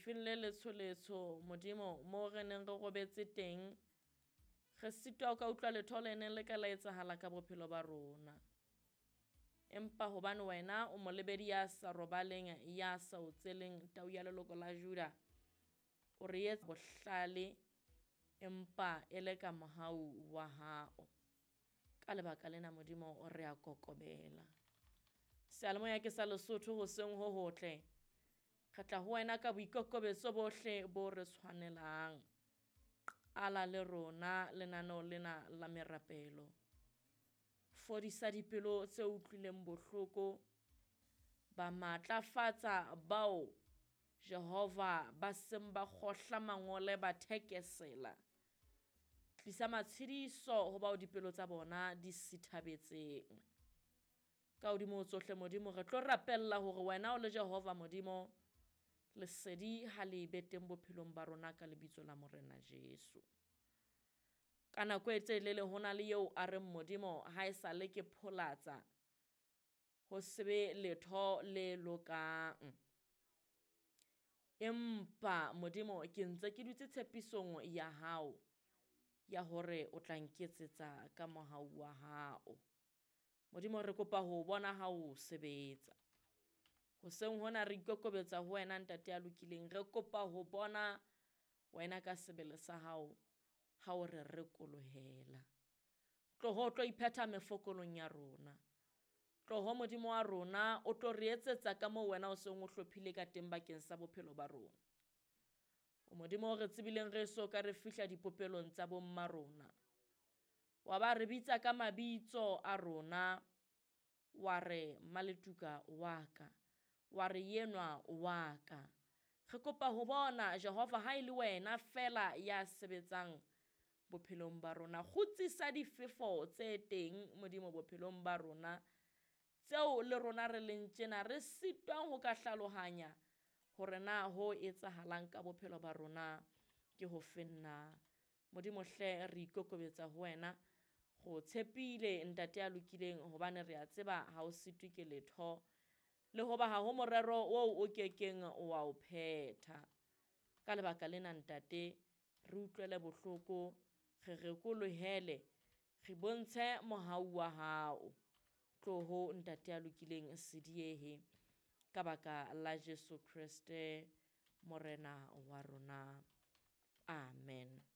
Lefifing le letsholetsho, Modimo, moo re neng re robetse teng, re sitwa ho ka utlwa letho le neng le ka la etsahala ka bophelo ba rona. Empa hobane wena o molebedi ya sa robaleng, ya sa otseleng, tau ya leloko la Juda, o re etsa bohlale empa e le ka mohau wa hao. Ka lebaka lena, Modimo, re a kokobela. Seyalemoya ke sa Lesotho hoseng ho hotle. Re tla ho wena ka boikokobetso bohle bo re tshwanelang. Qala le rona lenaneo lena la merapelo. Fodisa dipelo tse utlwileng bohloko. Ba matlafatsa bao Jehova ba seng ba kgohla mangole ba thekesela. Tlisa matshediso ho bao dipelo tsa bona di sithabetseng. Ka hodimo ho tsohle, Modimo, re tlo rapella hore wena o le Jehova Modimo, lesedi ha le be teng bophelong ba rona ka lebitso la Morena Jesu. Ka nako e telele ho na le eo a reng Modimo ha e sale ke pholatsa, ho se be letho le lokang. Empa Modimo ke ntse ke dutse tshepisong ya hao ya hore o tla nketsetsa ka mohau wa hao. Modimo, re kopa ho bona ha o sebetsa. Hoseng hona re ikokobetsa ho wena, Ntate ya lokileng, re kopa ho bona wena ka sebele sa hao ha o re rekolohela. Tloho o tlo iphetha mefokolong ya rona. Tloho Modimo wa rona o tlo re etsetsa ka moo wena o seng o hlophile ka teng bakeng sa bophelo ba rona. O Modimo o re tsebileng re so ka re fihla dipopelong tsa bomma rona. Wa ba re bitsa ka mabitso a rona, wa re Maletuka wa ka, wa re yenwa wa ka. Re kopa ho bona Jehova ha e le wena fela ya sebetsang bophelong ba rona. Kgutsisa difefo tse teng Modimo bophelong ba rona, tseo le rona re leng tjena re sitwang ho ka hlalohanya hore na ho etsahalang ka bophelo ba rona ke ho feng na. Modimo hle, re ikokobetsa ho wena, go tshepile Ntate ya lokileng, hobane re a tseba ha o sitwe ke letho, le hoba ha ho morero oo o kekeng wa o phetha. Ka lebaka lena, Ntate, re utlwele bohloko, re rekolohele, re bontshe mohau wa hao. Tloho Ntate ya lokileng, se diehe, ka baka la Jesu Kreste Morena wa rona. Amen.